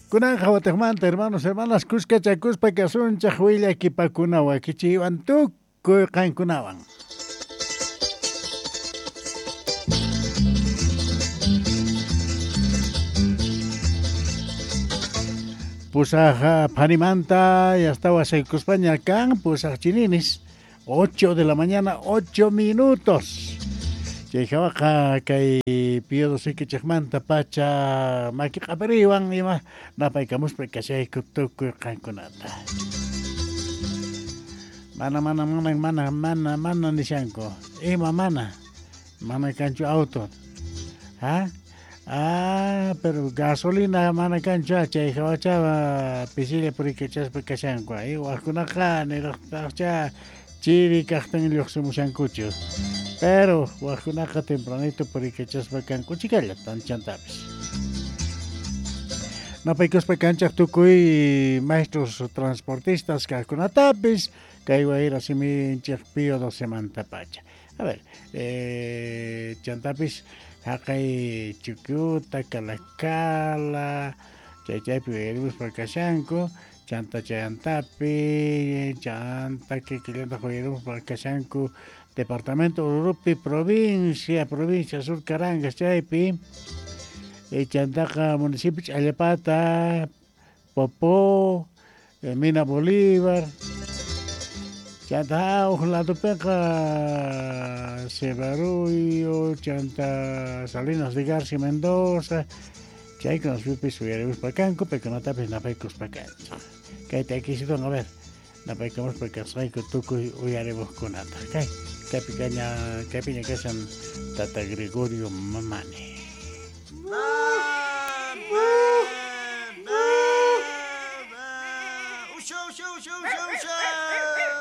Kunanqa watiqmanta hermanos, hermanas, kuskachakuspa kasunchaq willakipakuna wakichiywan tukuy qankunawan. Pusaq phanimanta ya estaba saykuspaña kan, pusaq chininis, 8 de la mañana, 8 minutos. Chay hawaqa kay Pío Sikichikmanta pacha maki q'apariwan ima napaykamuspa kashayku tukuy qankunata. Mana mana mana mana mana mana nishanku. Ima mana? Mana kanchu auto. ¿Ah? Ah, pero gasolina mana kanchu chay hawacha pisilla purikachaspa kashanku. Ay, waqkunaqa niraqtaqcha chiri kaqtin lluqsimushankuchu. Pero waqkunaqa tempranito purikachaspa kanku chikalla tanchantapis. Napaykuspa kanchaq tukuy maestros transportistas kaqkunatapis kay wayra siminchik Pío 12 pacha. A ver, chantapis haqay Chukyuta, Calacala, chay chaypi uyarimuspa kashanku, chanta chayantapi, chanta kikillantaq uyarimuspa kashanku departamento Ururupi, provincia, provincia Sur Carangas chaypi, chantaqa municipio Ch'allapata, Popó, Mina Bolívar, chanta huk ladopiqa Cebarullo, chanta Salinas de García Mendoza, chaykunapipis uyarimuspa kanku, paykunatapis napaykuspa kanchik. Kayta akisitun, a ver, napaykamuspa kasqayku tukuy uyarimuqkunata. Kay, kaypi kaña, kaypiña kashan Tata Gregorio Mamani. Usha, usha, usha, usha, usha.